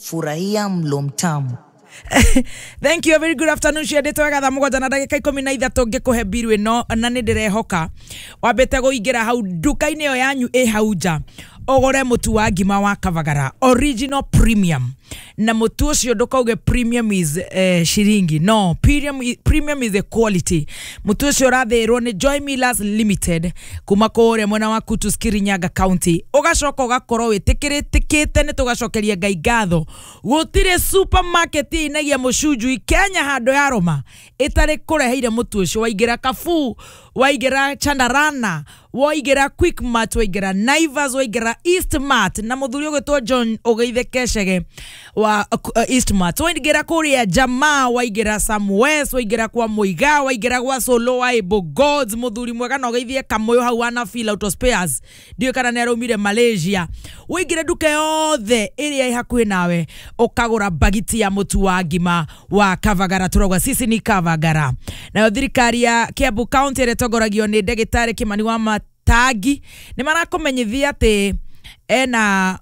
Furahia mlo mtamu. Thank you, a very good afternoon. Ciendete wega thaa 7 na ndagĩka 13 ngĩkũhe mbiru ĩno, na nĩ ndĩrehoka wambĩte kũingĩra hau nduka-inĩ ĩyo yanyu ĩ hau nja ũgũre mũtu wa ngima wa Kavagara original premium. Na mũtu ũcio ndũkauge premium is shiringi, no, premium is a quality. Mũtu ũcio ũrathĩrwo nĩ Joy Millers Limited kuma kũrĩa mwena wa Kutus, Kirinyaga County. Ũgacoka ũgakorwo wĩtĩkĩrĩtĩkĩte nĩ tũgacokeria Ngai ngatho. Gũtirĩ supermarket inagia mũcunjui Kenya handũ ya Roma ĩtarĩ kũreheire mũtu ũcio. Waingĩra Carrefour, waingĩra Chandarana, waingĩra Quickmart, waingĩra Naivas, waingĩra Eastmart, na mũthuri ũgwĩtwo John ũgeithe Kecege wa Eastmart, waingĩra kũrĩa Jamaa, waingĩra Samwes, waingĩra kwa Muiga, waingĩra gwa Solo wa Able Gods, mũthuri mwega na ũgeithie Kamũyũ hau wana Feel Auto Spares, ndiũĩ kana nĩ araumire Malaysia. Waingĩre nduka yothe ĩrĩa ĩ hakuhĩ nawe ũkagũra bagiti ya mũtu wa ngima wa Kavagara. Tũrauga sisi ni Kavagara. Nayo thirikari ya Kiambu County ĩrĩa ĩtongoragio nĩ ndagĩtarĩ Kimani wa Matangi nĩ marakũmenyithia atĩ ena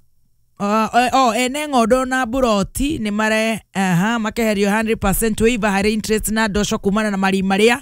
ene ng'ondo na buroti nĩ mare makeherio 100% waiver harĩ interest na ndosho kumana na marima marĩa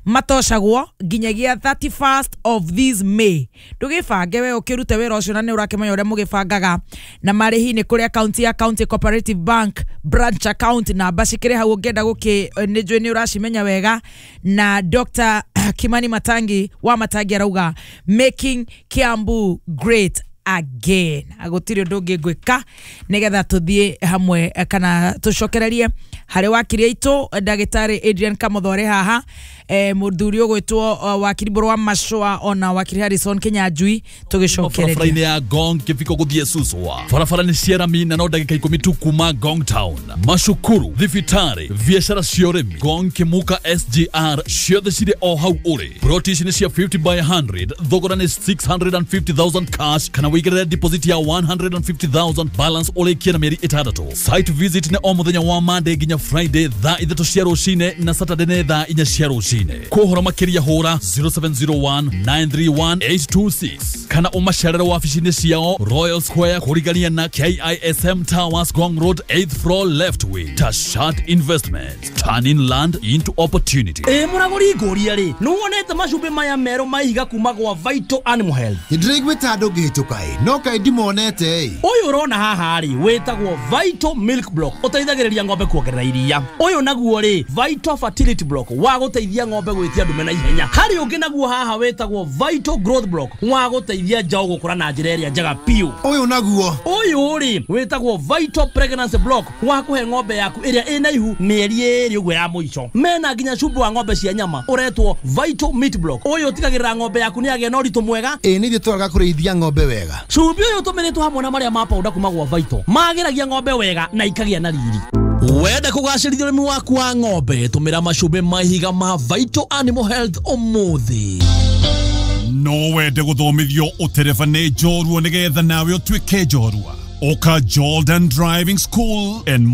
matocagwo nginyagia 31st of this May. Ndũgĩbange we ũkĩrute wĩra ũcio na nĩ ũrakĩmenya ũrĩa mũgĩbangaga. Na marĩhi nĩ kũrĩ akaunti ya County Cooperative Bank branch account, namba cikĩrĩ hau ũngĩenda gũkĩ nĩ njũĩ nĩ ũracimenya wega. Na Dr. Kimani Matangi wa Matangi arauga making Kiambu great again. Gũtirĩ ũndũ ũngĩ ngwĩka nĩgetha tũthiĩ hamwe kana tũcokererie harĩ wakiri aitũ ndagĩtarĩ Adrian Kamũthore haha, mũthuri ũgwĩtwo wakiri Mbũrũ wa Macũa ona wakiri Harrison Kinyanjui tũgĩcokereria barabara-inĩ ya Ngong kĩbiko gũthiĩ Suswa. Barabara nĩ cia rami na no ndagĩka 10 tu kuma Ngong Town. Macukuru, thibitarĩ, biacara cia ũrĩmi, Ngong Kĩmuka SGR ciothe cirĩ o hau ũrĩ. Ploti ici nĩ cia 50 by 100, thogora nĩ 650,000 cash kana wĩigĩrĩre deposit ya 150,000, balance ũrĩkie na mĩeri 6. Site visit nĩ o mũthenya wa Monday nginya Friday thaa 3 cia rũcinĩ na Saturday nĩ thaa 4 cia rũcinĩ. Kũhoro makĩria hũra 0701 931 826 kana ũmacerere wabici-inĩ ciao Royal Square kũrigania na KISM Towers, Ngong Road 8th floor left wing. Tashat Investment, turning land into opportunity. Ĩ mũragũri ngũria rĩ, nĩwonete macumbĩ maya merũ ma ihiga kuma gwa Vital Animal Health? Nĩndĩraiguĩte andũ ngĩhĩtũka ĩ, no kaĩ ndimonete ĩ. Ũyũ ũrona haha rĩ wĩtagwo Vital Milk Block, ũteithagĩrĩria ng'ombe kuongerera iria. Ũyũ naguo rĩ Vital Fertility Block wa gũteithia ng'ombe gwĩtia ndume na ihenya. Harĩ ũngĩ naguo haha wĩtagwo Vital Growth Block wa gũteithia njaũ gũkũra na njĩra ĩrĩa njega biũ. Ũyũ naguo ũyũ rĩ wĩtagwo Vital Pregnancy Block wa kũhe ng'ombe yaku ĩrĩa ĩna ihu mĩeri 2 ũguo ya mũico. Mena nginya cumbĩ wa ng'ombe cia nyama ũretwo Vital Meat Block. Ũyũ ũtigagĩrĩra ng'ombe yaku nĩ yagĩa na ũritũ mwega. Ĩ nĩ ithuĩ twaraga kũrĩithia ng'ombe wega. Cumbĩ ũyũ ũtũmĩrĩtwo hamwe na marĩa ma powder kuma gwa Vital magĩragia ng'ombe wega na ikagĩa na riri. Wenda kũgacĩrithia ũrĩmi waku wa ng'ombe, tũmĩra macumbĩ ma ihiga ma Vital Animal Health ũmũthĩ. No wende gũthomithio ũtereba nĩ njorua nĩgetha nawe ũtuĩke njorua. Ũka Jordan Driving School and